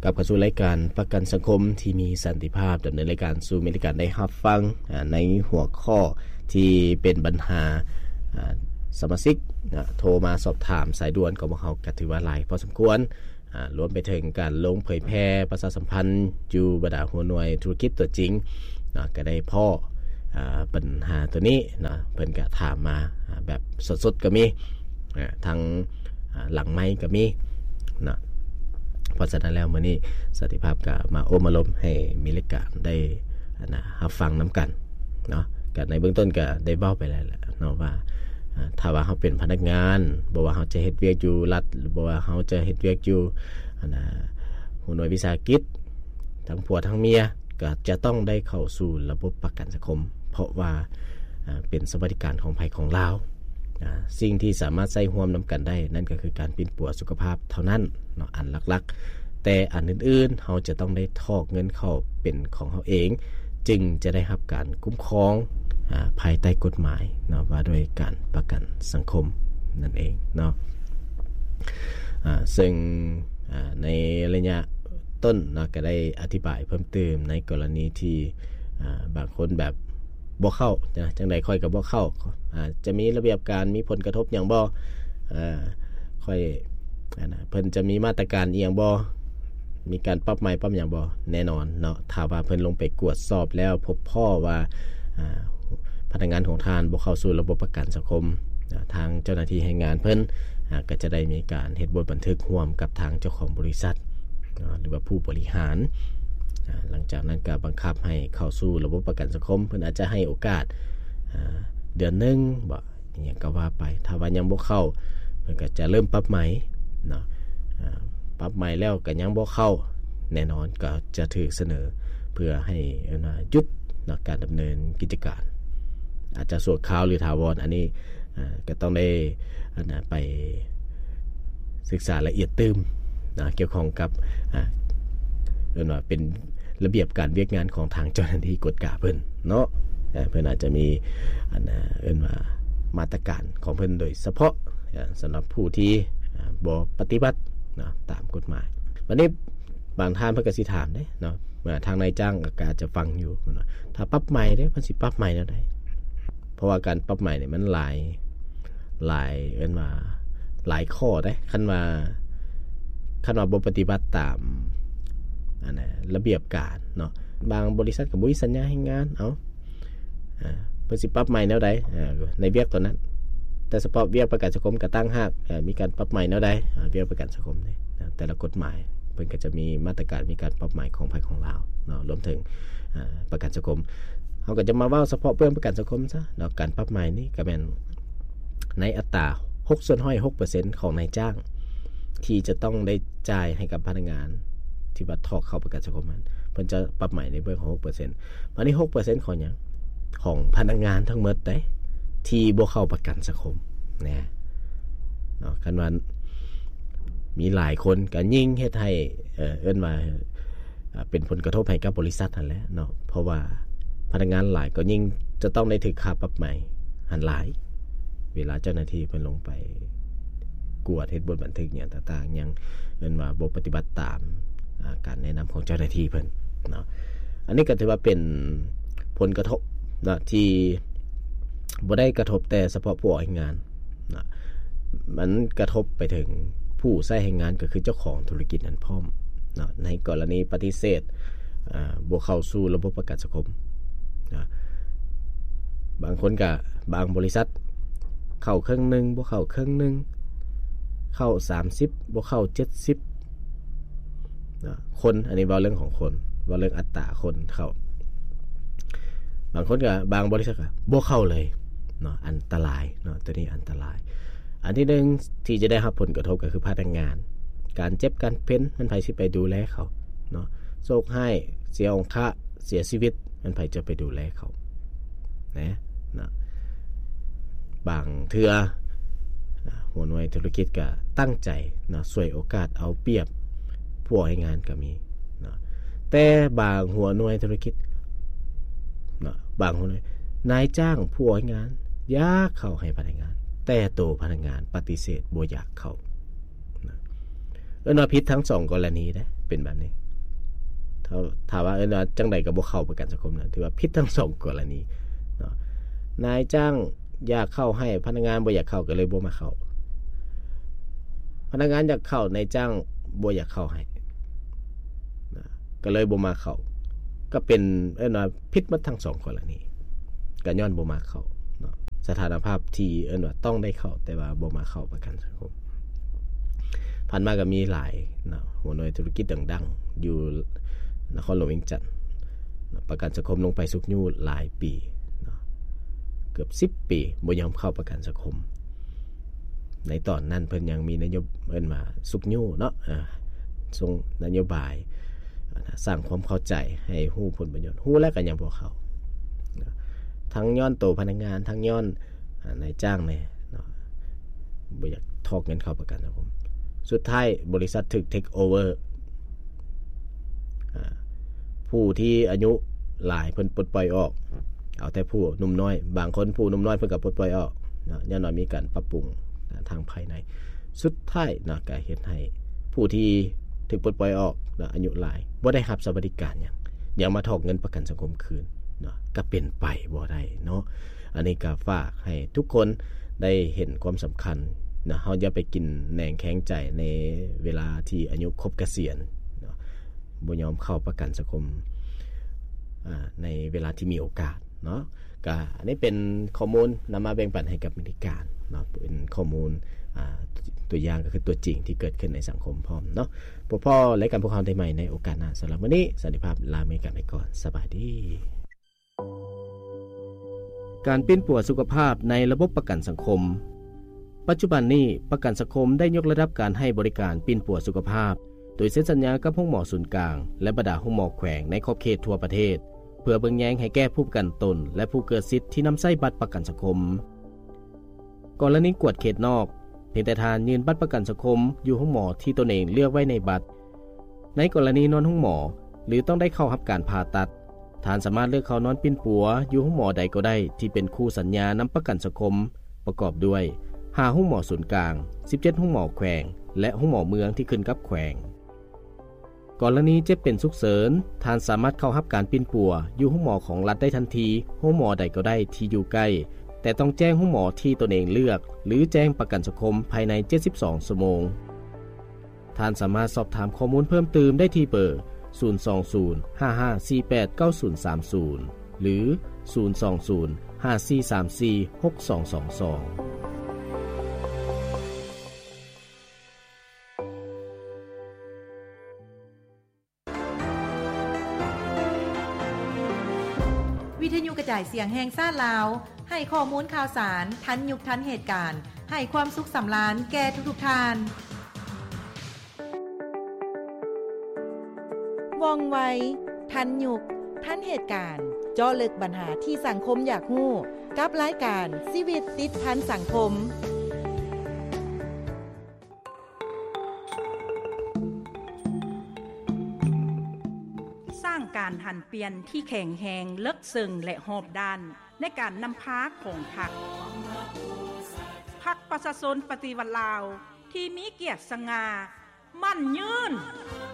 ກັບເຂົ້າສູ່ລາຍການປະກັນສັງຄົມທີ່ມີສັນຕິພາບ ດຳເນີນລາຍການສູ່ແຟນໆໄດ້ຮັບຟັງ ອາ ໃນຫົວຂໍ້ທີ່ເປັນບັນຫາ ອາ ສະມາຊິກ ອາ ໂທມາສອບຖາມສາຍດ່ວນຂອງພວກເຮົາ ກໍຖືວ່າຫຼາຍພໍສົມຄວນ ອາ ລວມໄປເຖິງການລົງເຜີຍແຜ່ປະຊາສຳພັນຢູ່ບັນດາຫົວໜ່ວຍທຸລະກິດຕົວຈິງ ເນາະ ກໍໄດ້ພໍ້ ອາ ບັນຫາຕົວນີ້ເນາະ ເພິ່ນກໍຖາມມາ ອາ ແບບສົດໆກໍມີ ອາ ທັງ ອາ ຫຼັງໄມກໍມີເນາະ. ເພາະສະນັ້ນແລ້ວ ມື້ນີ້ສັນຕິພາບກໍມາໂອ້ມາລົມໃຫ້ມີລາຍການໄດ້ ອັນນະ ຮັບຟັງນຳກັນເນາະ. ກໍໃນເບື້ອງຕົ້ນກໍໄດ້ເວົ້າໄປແລ້ວແຫຼະເນາະວ່າ ອາ ຖ້າວ່າເຮົາເປັນພະນັກງານ ບໍ່ວ່າເຮົາຈະເຮັດວຽກຢູ່ລັດ ຫຼືບໍ່ວ່າເຮົາຈະເຮັດວຽກຢູ່ ອັນນະ ຫົວໜ່ວຍວິສາຫະກິດ ທັງຜົວທັງເມຍ ກໍຈະຕ້ອງໄດ້ເຂົ້າສູ່ລະບົບປະກັນສັງຄົມ ເພາະວ່າ ອາ ເປັນສະຫວັດດີການຂອງໃຜຂອງລາວ. ອາ ສິ່ງທີ່ສາມາດໃຊ້ຮ່ວມນຳກັນໄດ້ ນັ້ນກໍຄືການປິ່ນປົວສຸຂະພາບເທົ່ານັ້ນເນາະ ອັນຫຼັກໆ ແຕ່ອັນອື່ນໆ ເຮົາຈະຕ້ອງໄດ້ຖອກເງິນເຂົ້າເປັນຂອງເຮົາເອງ ຈຶ່ງຈະໄດ້ຮັບການຄຸ້ມຄອງ ອາ ພາຍໃຕ້ກົດໝາຍເນາະ ວ່າດ້ວຍການປະກັນສັງຄົມນັ້ນເອງເນາະ. ອາ ເຊິ່ງ ອາ ໃນໄລຍະຕົ້ນເນາະ ກໍໄດ້ອະທິບາຍເພີ່ມເຕີມໃນກໍລະນີທີ່ ອາ ບາງຄົນແບບບໍ່ເຂົ້າ ຈັ່ງໃດຂ້ອຍກໍບໍ່ເຂົ້າ ອາ ຈະມີລະບຽບການ ມີຜົນກະທົບຫຍັງບໍ່ ອາ ຂ້ອຍ ອັນນະ ເພິ່ນຈະມີມາດຕະການອີ່ຫຍັງບໍ່ ມີການປັບໃໝປັບຫຍັງບໍ່. ແນ່ນອນເນາະ ຖ້າວ່າເພິ່ນລົງໄປກວດສອບແລ້ວພົບພໍ້ວ່າ ອາ ພະນັກງານຂອງທ່ານບໍ່ເຂົ້າສູ່ລະບົບປະກັນສັງຄົມ ອາ ທາງເຈົ້າໜ້າທີ່ແຮງງານເພິ່ນ ອາ ກໍຈະໄດ້ມີການເຮັດບົດບັນທຶກຮ່ວມກັບທາງເຈົ້າຂອງບໍລິສັດ ອາ ຫຼືວ່າຜູ້ບໍລິຫານ ອາ ຫຼັງຈາກນັ້ນກໍບັງຄັບໃຫ້ເຂົ້າສູ່ລະບົບປະກັນສັງຄົມ ເພິ່ນອາດຈະໃຫ້ໂອກາດ ອາ ເດືອນໜຶ່ງບໍ ອີ່ຫຍັງກໍວ່າໄປ. ຖ້າວ່າຍັງບໍ່ເຂົ້າ ເພິ່ນກໍຈະເລີ່ມປັບໃໝເນາະ ອາ ປັບໃໝແລ້ວກໍຍັງບໍ່ເຂົ້າ ແນ່ນອນກໍຈະຖືກສະເໜີເພື່ອໃຫ້ ເອີ້ນວ່າ ຢຸດເນາະ ການດຳເນີນກິດຈະການ ອາດຈະຊົ່ວຄາວ ຫຼື ຖາວອນ. ອັນນີ້ ອາ ກໍຕ້ອງໄດ້ ອັນນະ ໄປສຶກສາລະອຽດຕື່ມເນາະ ກ່ຽວຂ້ອງກັບ ອາ ເອີ້ນວ່າເປັນ ລະບຽບການວຽກງານຂອງທາງເຈົ້າໜ້າທີ່ກວດກາເພິ່ນເນາະ ເອີ ເພິ່ນອາດຈະມີ ອັນນະ ເອີ້ນວ່າມາດຕະການຂອງເພິ່ນໂດຍສະເພາະ ເອີ ສຳລັບຜູ້ທີ່ ອາ ບໍ່ປະຕິບັດເນາະ ຕາມກົດໝາຍ. ບັດນີ້ບາງທ່ານເພິ່ນກໍຊິຖາມເດ້ເນາະ ວ່າທາງນາຍຈ້າງກໍອາດຈະຟັງຢູ່ເນາະ ຖ້າປັບໃໝເດ້ ເພິ່ນຊິປັບໃໝແນວໃດ? ເພາະວ່າການປັບໃໝນີ້ມັນຫຼາຍ ຫຼາຍ ເອີ້ນວ່າຫຼາຍຂໍ້ເດ້ ຄັນວ່າ ຄັນວ່າບໍ່ປະຕິບັດຕາມ ອັນນະ ລະບຽບການເນາະ ບາງບໍລິສັດກໍບໍ່ມີສັນຍາແຮງງານ ເອົ້າ ເພິ່ນຊິປັບໃໝແນວໃດ ເອີ ໃນວຽກຕົວນັ້ນ? ແຕ່ສະເພາະວຽກປະກັນສັງຄົມກໍຕ່າງຫາກ ເອີ ມີການປັບໃໝແນວໃດ ເອີ ວຽກປະກັນສັງຄົມນີ້ ແຕ່ລະກົດໝາຍເພິ່ນກໍຈະມີມາດຕະການ ມີການປັບໃໝຂອງໃຜຂອງລາວເນາະ ລວມເຖິງ ເອີ ປະກັນສັງຄົມ. ເຮົາກໍຈະມາເວົ້າສະເພາະເລື່ອງປະກັນສັງຄົມຊະເນາະ ການປັບໃໝນີ້ກໍແມ່ນໃນອັດຕາຫົກສ່ວນຮ້ອຍ ຫົກເປີເຊັນຂອງນາຍຈ້າງ ທີ່ຈະຕ້ອງໄດ້ຈ່າຍໃຫ້ກັບພະນັກງານທີ່ວ່າຖອກເຂົ້າປະກັນສັງຄົມນັ້ນ ເພິ່ນຈະປັບໃໝໃນເບື້ອງຂອງຫົກເປີເຊັນ. ບາດນີ້ຫົກເປີເຊັນຂອງຫຍັງ? ຂອງພະນັກງານທັງໝົດເດ້ ທີ່ບໍ່ເຂົ້າປະກັນສັງຄົມແນ່ເນາະ. ຄັນວ່າມີຫຼາຍຄົນກໍຍິ່ງເຮັດໃຫ້ ເອີ ເອີ້ນວ່າ ອ່າ ເປັນຜົນກະທົບໃຫ້ກັບບໍລິສັດຫັ້ນແຫຼະເນາະ ເພາະວ່າພະນັກງານຫຼາຍກໍຍິ່ງຈະຕ້ອງໄດ້ຖືກຄ່າປັບໃໝຫັ້ນຫຼາຍ ເວລາເຈົ້າໜ້າທີ່ເພິ່ນລົງໄປກວດເຮັດບົດບັນທຶກຫຍັງຕ່າງໆ ຍັງເອີ້ນວ່າບໍ່ປະຕິບັດຕາມ ອ່າ ການແນະນຳຂອງເຈົ້າໜ້າທີ່ເພິ່ນເນາະ. ອັນນີ້ກໍຖືວ່າເປັນຜົນກະທົບເນາະ ທີ່ບໍ່ໄດ້ກະທົບແຕ່ສະເພາະຜູ້ອອກແຮງງານ ນະ ມັນກະທົບໄປເຖິງຜູ້ໃຊ້ແຮງງານ ກໍຄືເຈົ້າຂອງທຸລະກິດນັ້ນພ້ອມເນາະ. ໃນກໍລະນີປະຕິເສດ ອາ ບໍ່ເຂົ້າສູ່ລະບົບປະກັນສັງຄົມນະ ບາງຄົນກະ ບາງບໍລິສັດເຂົ້າເຄິ່ງໜຶ່ງ ບໍ່ເຂົ້າເຄິ່ງໜຶ່ງ ເຂົ້າສາມສິບ ບໍ່ເຂົ້າເຈັດສິບ ນະ ຄົນ ອັນນີ້ເວົ້າເລື່ອງຂອງຄົນ ເວົ້າເລື່ອງອັດຕາຄົນເຂົ້າ. ບາງຄົນກໍ ບາງບໍລິສັດກໍບໍ່ເຂົ້າເລີຍເນາະ ອັນຕະລາຍເນາະ ຕົວນີ້ອັນຕະລາຍ. ອັນທີໜຶ່ງທີ່ຈະໄດ້ຮັບຜົນກະທົບກໍຄືພະນັກງານ ການເຈັບການເປັນ ແມ່ນໃຜຊິໄປດູແລເຂົາເນາະ? ໂຊກຮ້າຍ ເສຍອົງຄະ ເສຍຊີວິດ ແມ່ນໃຜຈະໄປດູແລເຂົານະ ນະ. ບາງເທື່ອນະ ຫົວໜ່ວຍທຸລະກິດກໍຕັ້ງໃຈນະ ສວຍໂອກາດເອົາປຽບຜູ້ອອກແຮງງານກໍມີນະ. ແຕ່ບາງຫົວໜ່ວຍທຸລະກິດນະ ບາງຫົວໜ່ວຍ ນາຍຈ້າງຜູ້ອອກແຮງງານຢາກເຂົ້າໃຫ້ພະນັກງານ ແຕ່ໂຕພະນັກງານປະຕິເສດບໍ່ຢາກເຂົ້ານະ. ເອີ້ນວ່າຜິດທັງສອງກໍລະນີເດ້ ເປັນແບບນີ້. ຖ້າ ຖ້າວ່າເອີ້ນວ່າຈັ່ງໃດກໍບໍ່ເຂົ້າປະກັນສັງຄົມນະ ຖືວ່າຜິດທັງສອງກໍລະນີເນາະ. ນາຍຈ້າງຢາກເຂົ້າໃຫ້ພະນັກງານບໍ່ຢາກເຂົ້າ ກໍເລີຍບໍ່ມາເຂົ້າ. ພະນັກງານຢາກເຂົ້າ ນາຍຈ້າງບໍ່ຢາກເຂົ້າໃຫ້ນະ ກໍເລີຍບໍ່ມາເຂົ້າ. ກໍເປັນ ເອີ້ນວ່າຜິດໝົດທັງສອງກໍລະນີ ກໍຍ້ອນບໍ່ມາເຂົ້າເນາະ. ສະຖານະພາບທີ່ເອີ້ນວ່າຕ້ອງໄດ້ເຂົ້າ ແຕ່ວ່າບໍ່ມາເຂົ້າປະກັນສັງຄົມ. ຜ່ານມາກໍມີຫຼາຍເນາະ ຫົວໜ່ວຍທຸລະກິດດັງໆ ຢູ່ນະຄອນຫຼວງວຽງຈັນເນາະ ປະກັນສັງຄົມລົງໄປຊຸກຍູ້ຫຼາຍປີເນາະ ເກືອບສິບປີ ບໍ່ຍອມເຂົ້າປະກັນສັງຄົມ. ໃນຕອນນັ້ນເພິ່ນຍັງມີນະໂຍ ເອີ້ນວ່າຊຸກຍູ້ເນາະ ເອີ ສົ່ງນະໂຍບາຍ ອາ ສ້າງຄວາມເຂົ້າໃຈໃຫ້ຮູ້ຜົນປະໂຫຍດ ຮູ້ແລ້ວກໍຍັງບໍ່ເຂົ້າ. ທັງຍ້ອນໂຕພະນັກງານ ທັງຍ້ອນ ອາ ນາຍຈ້າງແດ່ເນາະ ບໍ່ຢາກຖອກເງິນເຂົ້າປະກັນສັງຄົມ. ສຸດທ້າຍບໍລິສັດຖືກເທກໂອເວີ ອາ ຜູ້ທີ່ອາຍຸຫຼາຍເພິ່ນປົດປ່ອຍອອກ ເອົາແຕ່ຜູ້ໜຸ່ມນ້ອຍ. ບາງຄົນຜູ້ໜຸ່ມນ້ອຍເພິ່ນກໍປົດປ່ອຍອອກເນາະ ຍ້ອນວ່າມີການປັບປຸງ ອາ ທາງພາຍໃນ. ສຸດທ້າຍເນາະ ກໍເຮັດໃຫ້ຜູ້ທີ່ຖືກປົດປ່ອຍອອກເນາະ ອາຍຸຫຼາຍ ບໍ່ໄດ້ຮັບສະຫວັດດີການຫຍັງ ຍັງມາຖອກເງິນປະກັນສັງຄົມຄືນເນາະ ກໍເປັນໄປບໍ່ໄດ້ເນາະ. ອັນນີ້ກໍຝາກໃຫ້ທຸກຄົນໄດ້ເຫັນຄວາມສຳຄັນເນາະ. ເຮົາຢ່າໄປກິນແໜງແຂງໃຈໃນເວລາທີ່ອາຍຸຄົບກະສຽນເນາະ ບໍ່ຍອມເຂົ້າປະກັນສັງຄົມ ອາ ໃນເວລາທີ່ມີໂອກາດເນາະ. ກະອັນນີ້ເປັນຂໍ້ມູນນຳມາແບ່ງປັນໃຫ້ກັບເມລິກາເນາະ ເປັນຂໍ້ມູນ ອາ ຕົວຢ່າງກໍຄືຕົວຈິງທີ່ເກີດຂຶ້ນໃນສັງຄົມພ້ອມເນາະ. ພົບພໍ້ລາຍການພວກເຮົາໄດ້ໃໝ່ໃນໂອກາດໜ້າ. ສຳລັບມື້ນີ້ ສັນຕິພາບ ລາເມກາໄປກ່ອນ. ສະບາຍດີ. ການປິ່ນປົວສຸຂະພາບໃນລະບົບປະກັນສັງຄົມ. ປັດຈຸບັນນີ້ ປະກັນສັງຄົມໄດ້ຍົກລະດັບການໃຫ້ບໍລິການປິ່ນປົວສຸຂະພາບ ໂດຍເຊັນສັນຍາກັບໂຮງໝໍສູນກາງ ແລະ ບັນດາໂຮງໝໍແຂວງໃນຂອບເຂດທົ່ວປະເທດ ເພື່ອເບິ່ງແຍງໃຫ້ແກ່ຜູ້ປະກັນຕົນ ແລະ ຜູ້ເກີດສິດທີ່ນຳໃຊ້ບັດປະກັນສັງຄົມ. ກໍລະນີກວດເຂດນອກ, ພຽງແຕ່ທ່ານຍື່ນບັດປະກັນສັງຄົມຢູ່ໂຮງໝໍທີ່ຕົນເອງເລືອກໄວ້ໃນບັດ. ໃນກໍລະນີນອນໂຮງໝໍ ຫຼື ຕ້ອງໄດ້ເຂົ້າຮັບການຜ່າຕັດ, ທ່ານສາມາດເລືອກເຂົ້ານອນປິ່ນປົວຢູ່ໂຮງໝໍໃດກໍໄດ້ທີ່ເປັນຄູ່ສັນຍານຳປະກັນສັງຄົມ, ປະກອບດ້ວຍ ຫ້າໂຮງໝໍສູນກາງ, ສິບເຈັດໂຮງໝໍແຂວງ ແລະ ໂຮງໝໍເມືອງທີ່ຂຶ້ນກັບແຂວງ. ກໍລະນີເຈັບເປັນສຸກເສີນ, ທ່ານສາມາດເຂົ້າຮັບການປິ່ນປົວຢູ່ໂຮງໝໍຂອງລັດໄດ້ທັນທີ, ໂຮງໝໍໃດກໍໄດ້ທີ່ຢູ່ໃກ້, ແຕ່ຕ້ອງແຈ້ງໂຮງໝໍທີ່ຕົນເອງເລືອກ ຫຼື ແຈ້ງປະກັນສັງຄົມພາຍໃນເຈັດສິບສອງຊົ່ວໂມງ. ທ່ານສາມາດສອບຖາມຂໍ້ມູນເພີ່ມຕື່ມໄດ້ທີ່ເບີ ສູນສອງສູນ ຫ້າຫ້າສີ່ແປດ ເກົ້າສູນສາມສູນ ຫຼື ສູນສອງສູນ ຫ້າສີ່ສາມສີ່ ຫົກສອງສອງສອງ. ວິທະຍຸກະຈາຍສຽງແຫ່ງຊາດລາວ ໃຫ້ຂໍ້ມູນຂ່າວສານທັນຍຸກທັນເຫດການ, ໃຫ້ຄວາມສຸກສຳລານແກ່ທຸກໆທ່ານ. ວ່ອງໄວ, ທັນຍຸກ, ທັນເຫດການ, ເຈາະເລິກບັນຫາທີ່ສັງຄົມຢາກຮູ້ ກັບລາຍການຊີວິດຕິດພັນສັງຄົມ. ສ້າງການຫັນປ່ຽນທີ່ແຂງແຮງ, ເລິກເຊິ່ງ ແລະ ຮອບດ້ານໃນການນຳພາຂອງພັກ. ພັກປະຊາຊົນປະຕິວັດລາວ ທີ່ມີກຽດສະຫງ່າ, ໝັ້ນຍືນ.